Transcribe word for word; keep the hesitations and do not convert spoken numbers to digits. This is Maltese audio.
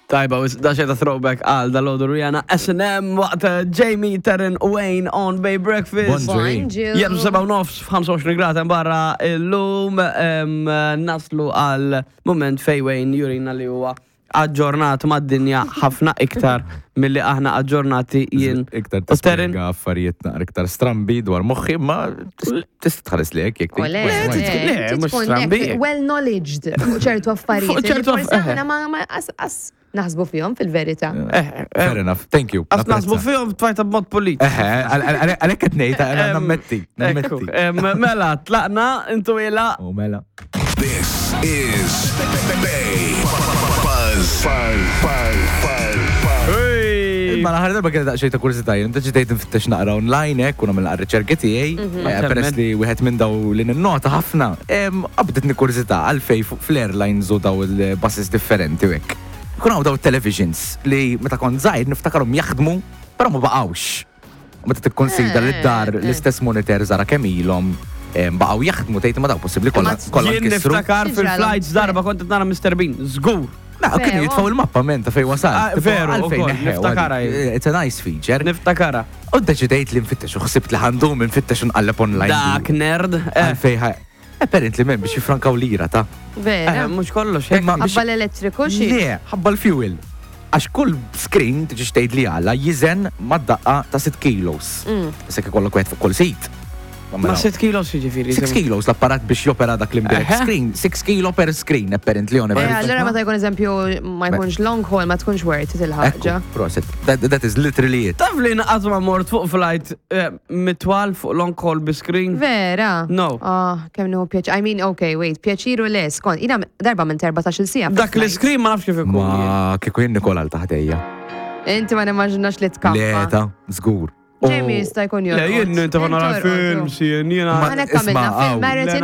Tajba, da xeta throwback għal dal-għodu Rihanna S and M waqt eh, Jamie, Taryn, Wayne on Bay Breakfast. Bonġu. Bonġu. Jeb seba u nofs f'ħamsa u għoxrin grad hemm barra illum em, naslu għal moment fej Wayne jurina li huwa aġġornat mad-dinja ħafna iktar milli aħna aġġornati jien Iktar u Taryn. tispjega affarijiet naqra iktar strambi dwar moħħi, ma tista' tħares li hekk jekk U le, Le, le, le, inti mhux tkun strambi. hekk well knowledged fuq ċertu affarijiet Fuq ċertu li forsi aff- aħna ma ma as as naħsbu fihom fil-verità. Eh, eh, Fair enough, thank you. Għas naħsbu fihom tfajta b'mod polit. Eħe, għalhekk qed ngħid, għana nammetti, Ekku, nammetti. em, mela, tlaqna, intu ila. U mela. This is Bay Buzz. Buzz. Buzz. Buzz. Buzz. Ma l-aħħar darba kienet daqsxejn ta' kurżità, jien deċidejt nfittex naqra online hekk u nagħmel naqra riċerki tiegħi, eh, peress li wieħed minn daw li ninnota ħafna, em, qabditni kurżità għalfej fuq fl-airlines u daw il-buses differenti u hekk. Kun hawn daw televisions li meta kont żgħir niftakarhom jaħdmu, però ma baqgħux. U meta tikkonsidra li d-dar Eh, eh. l-istess monitor żara kemm ilhom em, baqgħu jaħdmu, tgħid ma daw possibbli kollha kollha Jien nkissru. niftakar X'ġralhom? fil-flights darba kont qed nara Mister Bean, żgur. Na, kienu Veru. jitfaw il-mappa men ta' fej wasal. Ah, Tipo, veru, għalfejn ukoll, neħħew, niftakara jien. It's a nice feature. Niftakara. U deċidejt li nfittex u ħsibt li ħandum nfittex u nqalleb online. Dak nerd. Eh, Għalfej ħa. Apparently men biex jifrankaw lira ta' eh, Vera. mhux kollox, hekk. Imma biex. Ħabba l-elettriku xi. Le, ħabba l-fuel. Għax kull screen tiġi xtejt li għala jizen mad-daqqa ta' sitt kilos. Mm. Issa ikollok wieħed fuq kull seat. Ma sitt kilos jiġifieri. sitt kilos l-apparat biex jopera dak l-imbirek Eħe. screen, sitt kilo per screen apparently on Eh, average. allora meta jkun eżempju ma jkunx long haul ma tkunx worth it il-ħaġa. Ekku, prosit. That, that is literally it. Taf li naqas ma mort fuq flight eh, mitwal fuq long haul bi screen? Vera? No. Ah, kemm nieħu pjaċir. I mean, okay, wait, pjaċiru le, skont. Jiena darba minn erbatax-il siegħa. Dak fil-flight. l-screen ma nafx kif ikun. Ma kieku jien Nikola l taħdejja. Inti ma nimmaġinax li tkampa. Le ta' żgur. Jamie jista' jkun Le, jorqod. jien inti nara Inti orqod, films, jien jiena. Ma- Għanek għamilna Isma' film aw. marathon.